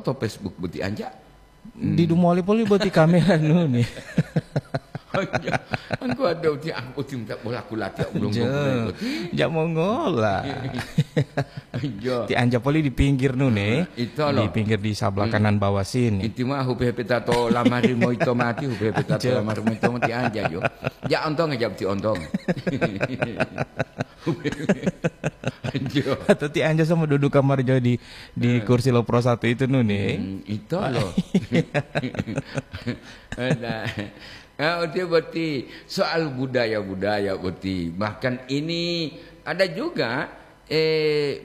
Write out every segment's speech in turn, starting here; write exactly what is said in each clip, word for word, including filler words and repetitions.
to Facebook boti anja. Di dumoli poli boti kamera nuni. Anja, anggo ada uti aku uti minta bola kulati aku belum Jo, boti. Jak mongola. Jo. Ti anja poli di pinggir nuni. Itu loh. Di pinggir di sebelah kanan bawah sini. Inti mah hupe-hupe tato lamari moito mati, hupe-hupe tato Jo. Lamari moito mati anja jo. Jak ontong aja ti ontong. Jo. Atau ti anja sama duduk kamar jo di, di kursi lo Pro satu itu nuni. Hmm, itu loh. Nah, nah, uti boti soal budaya-budaya boti. Bahkan ini ada juga, eh,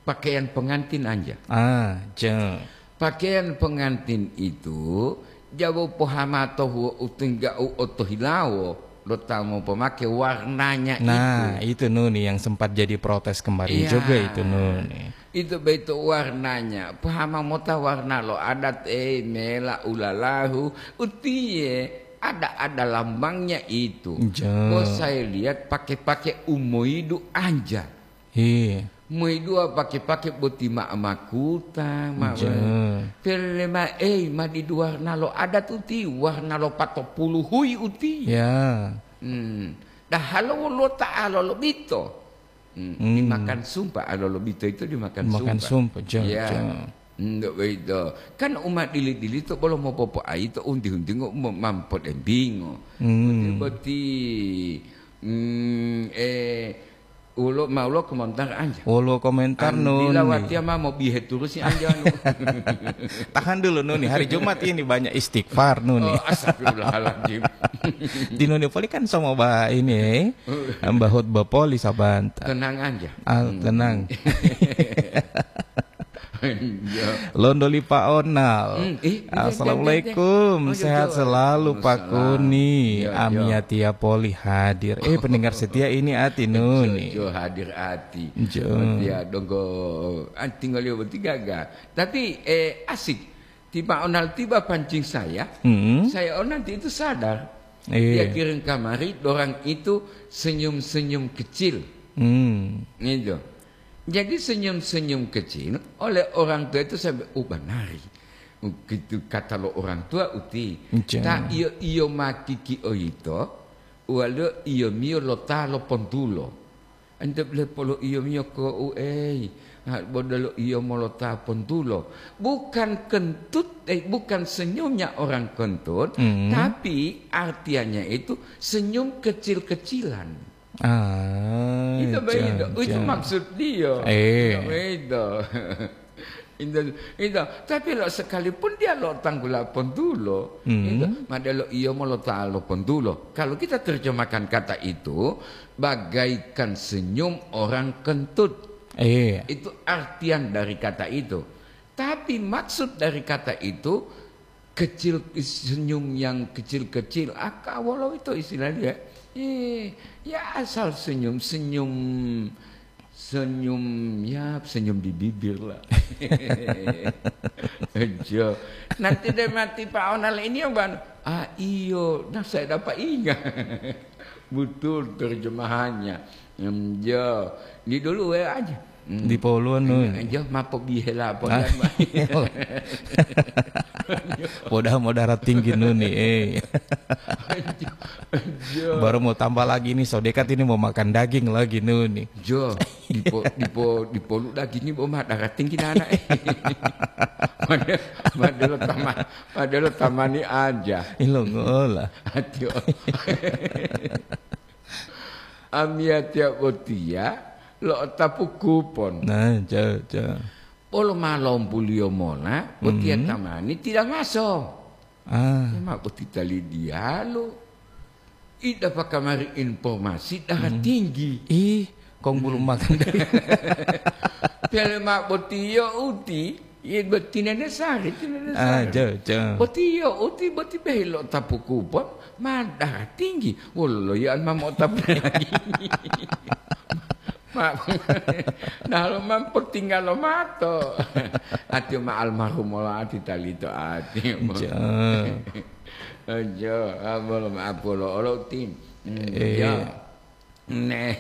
pakaian pengantin anja. Ah, jo. Pakaian pengantin itu jabo pohamato huo utingga'u otohilawo lo ta mopomake warnanya Nah, itu. Itu nuni yang sempat jadi protes kemarin Iya. Juga itu nuni. Itu beito warnanya. Pohama mota warna lo adat, eh, mela ulalahu. Utiye ada-ada lambangnya itu. Jo. Kok saya lihat pakai-pakai umoidu anja. Iya. Moi dua pake-pake boti ma makuta, ma Ja. Pele ma ei ma di duwarna lo adat uti, warna lo patopulu hui uti. Ya. Hmm. Dahalo woluwo ta alolobito. Hmm. Hmm. Dimakan sumpa, alolobito itu dimakan Makan sumpa. Sumpa, ja, Ya. Ja. Hmm, begitu. Kan uma dili-dili to bolo mopopoayi to unti-untingo mo-, mampodembingo. Hmm. Boti-boti, hmm, eh, Ulo, ma ulo komentar anja. Ulo komentar An, bila nuni. Watiya ma mobihe turusi anja anu. Tahan dulu nuni, hari Jumat ini banyak istighfar nuni. Oh, astagfirullahaladzim. Di nuni poli kan sama ba ini, eh. Mbah khotbah poli sabanta. Tenang anja. Ah, Hmm. Tenang. Iya. Londo li Pak Onal. Hmm, eh, iya, Assalamualaikum, iya, iya. Oh, iya, sehat iya. Selalu Pak Waalaikumsalam. Kuni. Iya, iya. Amia tia poli hadir. Eh, pendengar setia ini ati nuni. Jo, jo hadir ati. Jo. Dia donggo, ah, tinggal dia bertiga ga. Tapi, eh, asik. Tiba Onal tiba pancing saya, Hmm. Saya Onal itu sadar. Iya. Dia kirim kamari, dorang itu senyum-senyum kecil. Hmm. Gitu. Jadi senyum-senyum kecil oleh orang tua itu sampai, "Oh, banari." Gitu kata lo orang tua uti. Ja. Ta iyo-iyo ma kiki oyito, waliyo iyo-miyo lo ta lo pontulo. Ente bele polo iyo-miyo ko u ei, ha, bodolo iyo molo ta pontulo. Bukan kentut, eh, bukan senyumnya orang kentut, Hmm. Tapi artiannya itu senyum kecil-kecilan. Ah, Itu ja, begitu. Itu ja. Maksud dia. Eh. Itu begitu. Itu, itu. Tapi lo sekalipun dia lo tanggula pontulo, Hmm. Itu, madelo iyo mo lo ta lo pontulo. Kalau kita terjemahkan kata itu, bagaikan senyum orang kentut. Iya. Itu artian dari kata itu. Tapi maksud dari kata itu, kecil, senyum yang kecil-kecil, aka wolo itu istilahnya. Eh, ya asal senyum-senyum, senyum, ya senyum di bibir lah. Jo. Nanti deh mati Pak Onal ini yang ban-, ah iyo, nah saya dapat ingat. Betul terjemahannya. Em, jo. Di dulu we aja. Hmm. Di poluan, Nun. Iya, iya, mapo bihela, Ah, podan, Pak. Iya. Poda modara tinggi, Nun, nih, eh. Iya. Baru mau tambah lagi nih, sodekat ini mau makan daging lagi, Nun, nih. Jo, dipo-, dipo-, dipolu dagingnya mau madara tinggi, nana, eh. Padahal, padahal tama-, padahal tamani aja. Ilo ngola. Aduh. Amiyatiya botiya lo'otapu kupon. Nah, ja, ja. Bolo ma lombuliyo mola, botiya Mhm. tamani tila maso. Ah. Ema boti tali diyalu. Ida pakamari informasi darah Mhm. tinggi. Ih, kong bulu Mhm. makan dari Pele ma botiyo uti, Iya, boti Nene Sari, ti Nene Ah, Sari. Jo, jo. Boti yo, uti boti behi lo'otapu kupon, ma darah tinggi. Wolo loyaan ma mo'otapu lagi. Ma, nah, lo ma potinggalo mato. Ati ma almarhum mola ati talito ati. Jo. Jo, ah, bolo ma apolo olo tim. Hmm, Eh. Jo. Neh,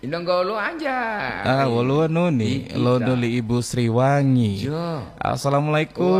inonggolo aja. Ah, woluwo nuni, Iki londo ta. Li Ibu Sriwangi. Jo. Assalamualaikum.